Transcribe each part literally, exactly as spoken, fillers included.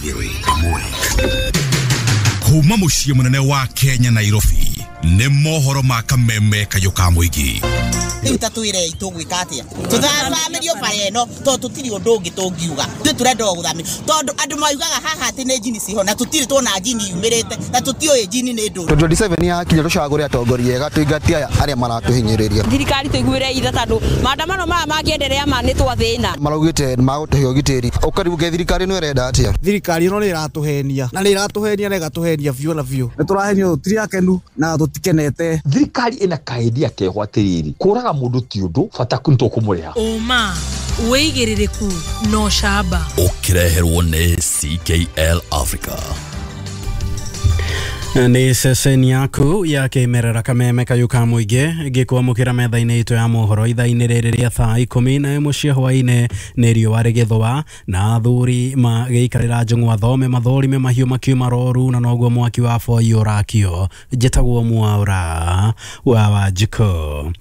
igĩrĩ ĩmwe. Kuma mũciĩ mũnene wa Kenya Nairobi nĩ mohoro ma kameme kayũ ka mũingĩ. Rĩu ta twĩrei tũgwĩka atĩa? Tũthathamĩrio bara ĩno tondũ tũtirĩ ũndũ ũngĩ tũngiuga. Ithuĩ tũrenda o gũthamĩrio tondũ andũ maugaga haha atĩ nĩ njini ciho na tũtirĩ tuona njini yumĩrĩte na tũtiũĩ njini nĩ ndũ. twenty twenty-seven yakinya tũcagũre atongoria ega tũingatie aya arĩa maratũhinyĩrĩria. Thirikari tũiguĩre itha tondũ maandamano maya mangĩenderea ma nĩ twathĩna. Maraugĩte nĩ magũtũhe ũgitĩri. Ũkaribuke thirikari ĩno ĩrenda atĩa? Thirikari ĩno nĩ ĩratũhenia na nĩ ĩratũhenia na ĩgatũhenia biũ na biũ. Nĩ tũrahenio tũtirĩ akenu na tũtikenete. Thirikari ĩna kaendia keho atĩrĩrĩ, kũraga mũndũ ti ũndũ bata nĩtũkũmũrĩha. Ũma wĩigĩrĩrĩku no camba. Ũkĩreherwo nĩ C K L Africa. Nĩ ceceni yaku ya kĩmerera kameme kayũ ka mũingĩ gĩkwamũkĩra metha-inĩ itũ ya mohoro ithaa-inĩ rĩrĩ rĩa thaa ikũmi na ĩmwe cia hwaĩ-inĩ. Nĩ riũa rĩgĩthũa na athuri magĩikarĩra njũng'wa thome mathũrime mahiũ makiuma roru na noguo mwaki wa boi ũrakio. Njĩtagwo Mwaura wa Wanjikũ.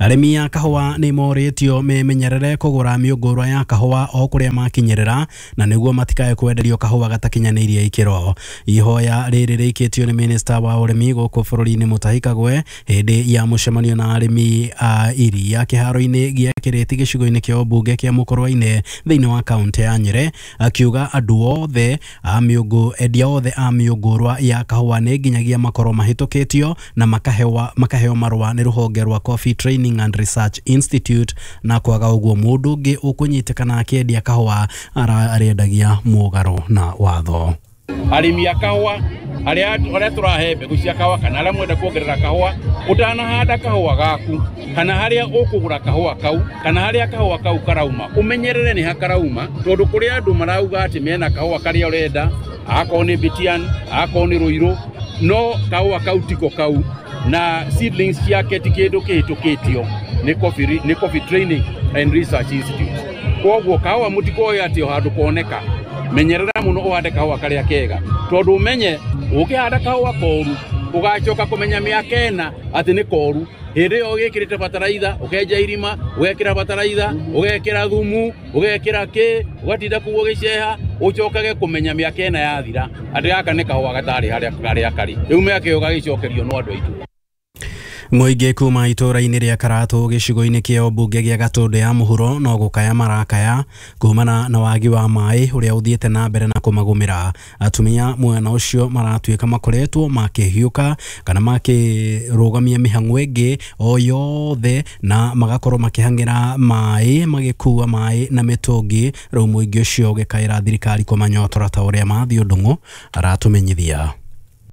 Arĩmi a kahũa nĩ morĩtio memenyerere kũgũra mĩũngũrwa ya kahũa o kũrĩa makinyĩrĩra na nĩguo matikae kwenderio kahũa gatakinyanĩirie ikĩro. Ihoya rĩrĩ rĩikĩtio nĩ minista wa ũrĩmi gũkũ bũrũri-inĩ Mutahi Kagwe hĩndĩ ya mũcemanio na arĩmi a iria kĩharo-inĩ gĩa Kĩrĩti gĩcigo-inĩ kĩa ũmbunge kĩa Mũkũrwe-inĩ thĩinĩ wa kaũntĩ ya Nyĩrĩ, akiuga andũ othe a mĩũngũ endia othe a mĩũngũrwa ya kahũa nĩ nginyagia makorwo mahĩtũkĩtio na makahewa makaheo marũa nĩ rũhonge rwa Coffee Training and Research Institute, na kwaga ũguo mũndũ ũngĩ ũkũnyitĩkana akĩendia kahũa arĩendagia mũgarũ na watho. Arĩmi a kahũa arĩa arĩa tũrahe mbegũ cia kahũa kana arĩa mwenda kuongerera kahũa, ũtanahanda kahũa gaku kana harĩa ũkũgũra kahũa kau kana harĩa kahũa kau karauma ũmenyerere nĩ ha karauma, tondũ kũrĩ andũ marauga atĩ mena kahũa karĩa ũrenda, akorwo nĩ Bitian, akorwo nĩ Rũirũ, no kahũa kau tiko kau na seedlings ciake ti kĩndũ kĩhĩtũkĩtio nĩ Coffee, nĩ Coffee Training and Research Institute. Koguo kahũa mũtikoe atĩ o handũ koneka, menyerera mũno ũhande kahũa karĩa kega, tondũ ũmenye ũkĩhanda kahũa koru ũgacoka kũmenya mĩaka ĩna atĩ nĩ koru. Hĩndĩ ĩyo ũgĩkĩrĩte bataraitha, ũkenja irima, ũgekĩra bataraitha, ũgekĩra thumu, ũgekĩra kĩ, ũgatinda kũu ũgĩceha, ũcokage kũmenya mĩaka ĩna yathira atĩ gaka nĩ kahũa gatarĩ harĩa karĩa karĩ. Rĩu mĩaka ĩyo gagĩcokerio no andũ aitũ. Mũingĩ kuma itũũra-inĩ rĩa Karatũ gĩcigo-inĩ kĩa ũmbunge gĩa Gatũndũ ya mũhuro no gũkaya marakaya kumana na wagi wa maĩ ũrĩa ũthiĩte na mbere na kũmagũmĩra. Atumia mwena ũcio maratuĩka makoretwo makĩhiũka kana makĩrũgamia mĩhang'o ĩngĩ o yothe na magakorwo makĩhang'ĩra maĩ magĩkua maĩ na mĩtũngi. Rĩu mũingĩ ũcio ũgĩkaĩra thirikari kũmanyotora ta ũrĩa Mathiũ Ndung'u aratũmenyithia.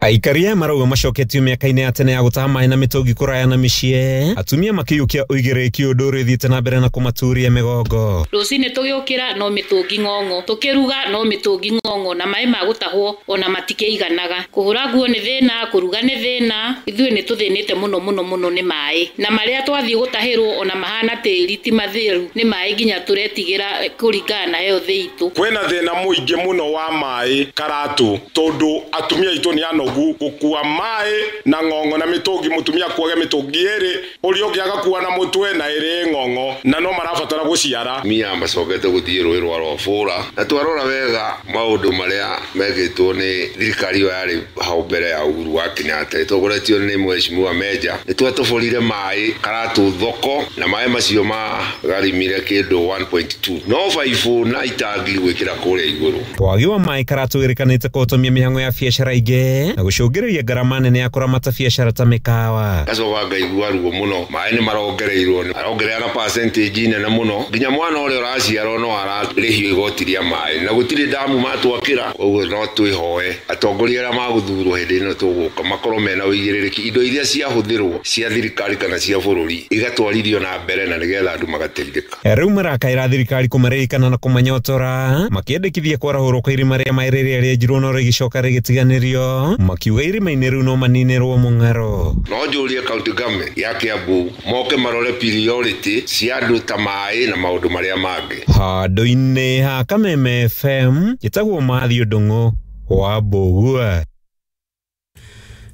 Aikari aya marauga macoketio mĩaka-inĩ ya tene ya gũtaha maĩ na mĩtũngi kũraya na mĩciĩ, atumia makĩiyũkia ũigĩrĩrĩki ũndũ ũrĩa ũthiĩte na mbere na kũmaturia mĩgongo. Rũcinĩ tũgĩũkĩra no mĩtũngi ng'ong'o, tũkĩruga no mĩtũngi ng'ong'o, na maĩ ma gũtahwo ona matikĩiganaga. Kũhũra nguo nĩ thĩna, kũruga nĩ thĩna, ithuĩ nĩ tũthĩnĩte mũno mũno mũno nĩ maĩ, na marĩa twathiĩ gũtahĩrwo ona mahana tĩri ti matheru, nĩ maĩ nginya tũretigĩra kũringana na health itũ. Kwĩna thĩna mũingĩ mũno wa maĩ Karatũ tondũ atumia aitũ nĩ anogu gũkua maĩ na ng'ong'o na mĩtũngi, mũtumia akuage mĩtũngi ĩrĩ, ũrĩa ũngĩ agakua na mũtwe na ĩrĩ ng'ong'o, na no marabatara gũciara. Atumia macokete gũthiĩ rũĩ rwa Rwabũra, na twarora wega maũndũ marĩa mekĩtwo nĩ thirikari ĩyo yarĩ hau mbere ya Uhuru wa Kenyatta ĩtongoretio nĩ Mheshimiwa Meja, nĩ twatũbũrire maĩ Karatũ thoko na maĩ macio magarimire kĩndũ one point two, no baibũ na itangi gwĩkĩra kũrĩa igũrũ. Wagi wa maĩ Karatũ wĩrĩkanĩte kũhotomia mĩhang'o ya biacara ingĩ na gũcũngĩrĩria ngarama nene ya kũramata biacara ta mĩkawa. Ngacoka ngaigua ruo mũno, maĩ nĩ marongereirwo, arongerera na percentage nene mũno, nginya mwana ũrĩa ũraciarwo no ararĩhio igoti rĩa maĩ na gũtirĩ ndamu matwakĩra. Koguo no twĩhoe atongoria arĩa magũthurwo hĩndĩ ĩno tũgũka makorwo mena ũigĩrĩrĩki, indo iria ciahũthĩrwo cia thirikari kana cia bũrũri igatwarithio na mbere na nĩgetha andũ magateithĩka. Rĩu marakaĩra thirikari kũmaririkana na kũmanyotora, makĩendekithia kwarahũrwo kwa irima rĩa maĩ rĩrĩa rĩenjirwo no rĩgĩcoka rĩgĩtiganĩrio, makiuga irima-inĩ rĩu no maninĩrwo mũng'aro. No njũrie county government ya Kiambu moke marore priority cia andũ ta maĩ na maũndũ marĩa mangĩ. Handũ-inĩ ha Kameme F M njĩtagwo Mathiũ Ndung'u wa Mbũgua.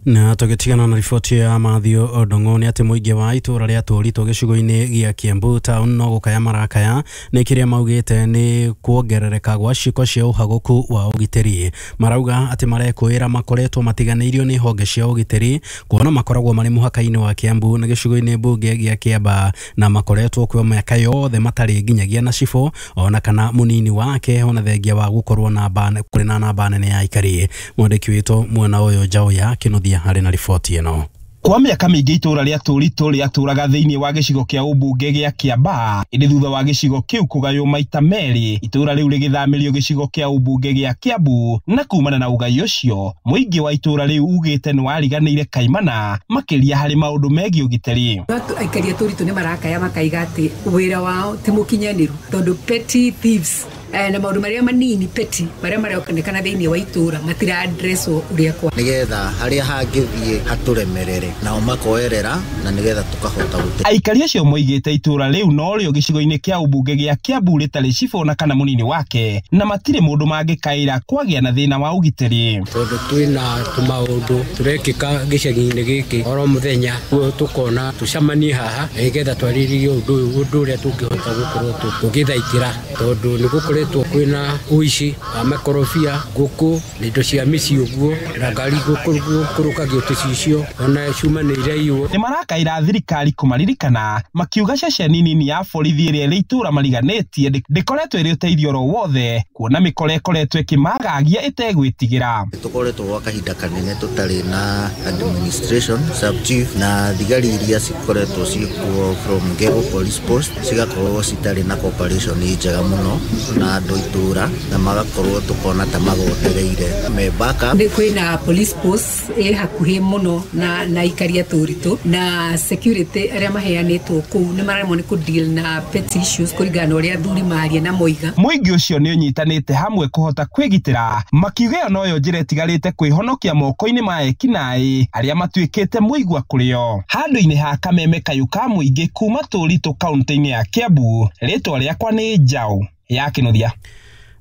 Na tũgĩtigana na riboti ya Mathew Ndung'u nĩ atĩ mũingĩ wa itũra rĩa Tũritũ gĩcigo-inĩ gĩa Kiambu town no gũkaya marakaya nĩ kĩrĩa maugĩte nĩ kuongerereka gwa ciĩko cia ũhagũku wa ũgitĩri. Marauga atĩ marekũĩra makoretwo matiganĩirio nĩ honge cia ũgitĩri kuona makoragwo marĩ mũhaka-inĩ wa Kiambu na gĩcigo-inĩ mbunge gĩa Kiambaa na makoretwo kwa mĩaka yothe matarĩ nginyagia na cibũ ona kana mũnini wake ona thengia wa gũkorwo namba kũrĩ na namba nene ya aikari. Mwandĩki witũ mwena ũyũ Njaũya Kĩnuthia harĩ na riboti ĩno. Kwa mĩaka mĩingĩ itũra rĩa Tũritũ rĩatũraga thĩinĩ wa gĩcigo kĩa ũmbunge gĩa Kiambaa, ĩndĩ thutha wa gĩcigo kĩu kũgaywo maita merĩ, itũra rĩu rĩgĩthamĩrio gĩcigo kĩa ũmbunge gĩa Kiambu, na kumana na ũgai ũcio mũingĩ wa itũra rĩu ugĩte nĩ wariganĩire kaimana makĩria harĩ maũndũ megiĩ ũgitĩri. Aikari a Tũritũ nĩ marakaya makaiga atĩ wĩra wao ti mũkinyanĩru tondũ petty thieves na maũndũ marĩa manini petty marĩa maronekana thĩinĩ wa itũra matira addresswo ũrĩa kwa nĩgetha harĩa hangĩthiĩ hatũremerere nao makoerera na nĩgetha tũkahota gũte. Aikari acio moigĩte itũra rĩu norĩo gĩcigo-inĩ kĩa ũmbunge gĩa Kiambu rĩtarĩ cibũ na kana mũnini wake na matirĩ mũndũ mangĩkaĩra kwagĩa na thĩna wa ũgitĩri. Tondũ twĩna tũmaũndũ tũrekĩka gĩcagi-inĩ gĩkĩ oro mũthenya guo tũkona tũcemanie haha nĩgetha twarĩrĩrie ũndũ ũyũ ũndũ ũrĩa tũngĩhota gũkorwo tũgĩthaitĩra tondũ nĩ gũkoretwo kwĩna ũici wa makorobia ngũkũ na indo cia mĩciĩ ũguo na ngari gũkũrũkagio tũcicio ona cuma nĩ iraiywo. Nĩ marakaĩra thirikari kũmaririkana makiuga ceceni nini ya borithi ĩrĩa ĩrĩ itũra mariganĩtie ndĩkoretwo ĩrĩ ũteithio oro wothe kuona mĩkora ĩkoretwo ĩkĩmagagia ĩtegwĩtigĩra. Tũkoretwo gwa kahinda kanene tũtarĩ na administration sub chief na thigari iria cikoretwo ciĩkuo from Geo Police Post cigakorwo citarĩ na cooperation njega mũno na andũ itũra na magakorwo tukona ta magotereire me backup. Nĩ kwĩna police post ĩ hakuhĩ mũno na na aikari a Tũritũ na security arĩa maheanĩtwo kũu nĩ maremwo nĩ kũ deal na petty issues kũringana na ũrĩa athuri maria na moiga. Mũingĩ ũcio nĩ ũnyitanĩte hamwe kũhota kwĩgitĩra makiuga ĩyo noyo njĩra ĩtigarĩte kwĩhonokia moko-inĩ ma ekinaĩ arĩa matuĩkĩte mũigua kũrĩo. Handũ-inĩ ha kameme kayũ ka mũingĩ kuma Tũritũ kaunti-inĩ ya Kiambu, rĩtwa rĩakwa nĩ Njaũ ya Kĩnuthia.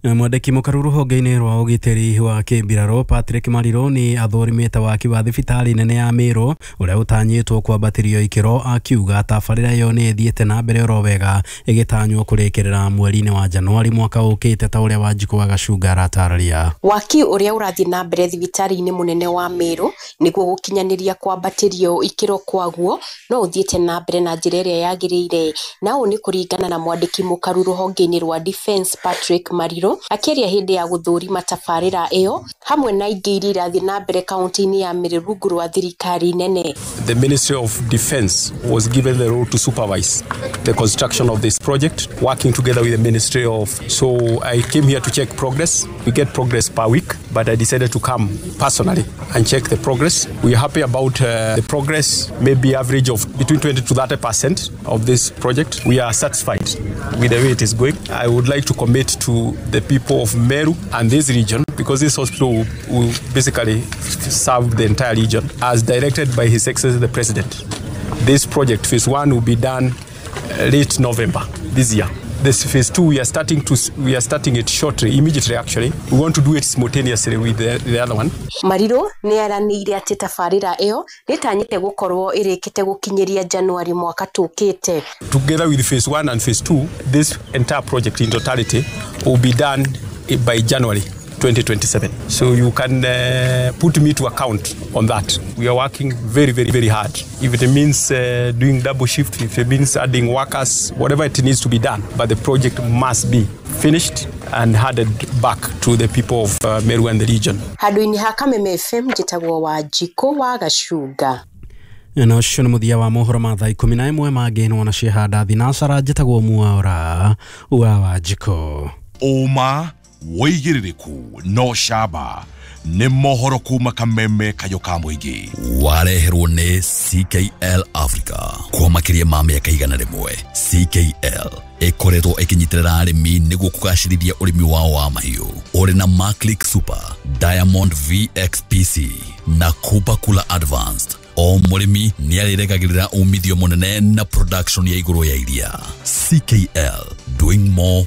Mwandĩki mũkaru rũhonge-inĩ rwa ũgitĩri wa kĩmbirarũ Patrick Mariro nĩ athũrimĩte waki wa thibitarĩ nene ya Meru ũrĩa ũtanyĩtwo kwambatĩrio ikĩro akiuga tabarĩra ĩyo nĩ ĩthiĩte na mbere oro wega ĩgĩtanywo kũrĩkĩrĩra mweri-inĩ wa Januari mwaka ũkĩte ta ũrĩa Wanjikũ wa Gacunga aratarĩria. Waki ũrĩa ũrathiĩ na mbere thibitarĩ-inĩ mũnene wa Meru nĩguo gũkinyanĩria kwambatĩrio ikĩro kwaguo no ũthiĩte na mbere na njĩra ĩrĩa yagĩrĩire, na ũũ nĩ kũringana na mwandĩki mũkaru rũhonge-inĩ rwa Defence Patrick Mariro akĩaria hĩndĩ ya gũthũrima tabarĩra ĩyo hamwe na ingĩ iria irathiĩ na mbere kaunti-inĩ ya Meru rungu rwa thirikari nene. The Ministry of Defence was given the role to supervise the construction of this project, working together with the Ministry of. So I came here to check progress. We get progress per week, but I decided to come personally and check the progress. We are happy about uh, the progress, maybe average of between twenty to thirty percent of this project. We are satisfied with the way it is going. I would like to commit to the people of Meru and this region, because this hospital will, will basically serve the entire region, as directed by His Excellency the President. This project, phase one, will be done late November this year. This phase two, we are starting to we are starting it shortly, immediately actually. We want to do it simultaneously with the, the other one. Mariro nĩ aranĩire atĩ tabarĩra ĩyo nĩtanyĩte gũkorwo ĩrĩkĩte gũkinyĩria Januari mwaka tũkĩte. Together with phase one and phase two, this entire project in totality will be done by January twenty twenty-seven. So you can uh, put me to account on that. We are working very, very, very hard. If it means uh, doing double shift, if it means adding workers, whatever it needs to be done, but the project must be finished and handed back to the people of uh, Meru and the region. Handũ-inĩ ha Kameme F M njĩtagwo Wanjikũ wa Gacunga. Na ũcio nĩ mũthia wa mohoro ma thaa ikũmi na ĩmwe mangĩ nĩ wona ciehanda thinacara njĩtagwo Mwaura wa Wanjikũ. Ũma wĩigĩrĩrĩku no camba nĩ mohoro kuma Kameme kayũ ka mũingĩ wareherwo nĩ C K L Africa kwa makĩria ma mĩaka igana rĩmwe. C K L ĩkoretwo ĩkĩnyitĩrĩra arĩmi nĩguo kũgacĩrithia ũrĩmi wao wa mahiũ ũrĩ na Maclick Super, Diamond V X P C na Cooper Cooler Advanced. O mũrĩmi nĩarĩregagĩrĩra umithio mũnene na production ya igũrũ ya iria. C K L, doing more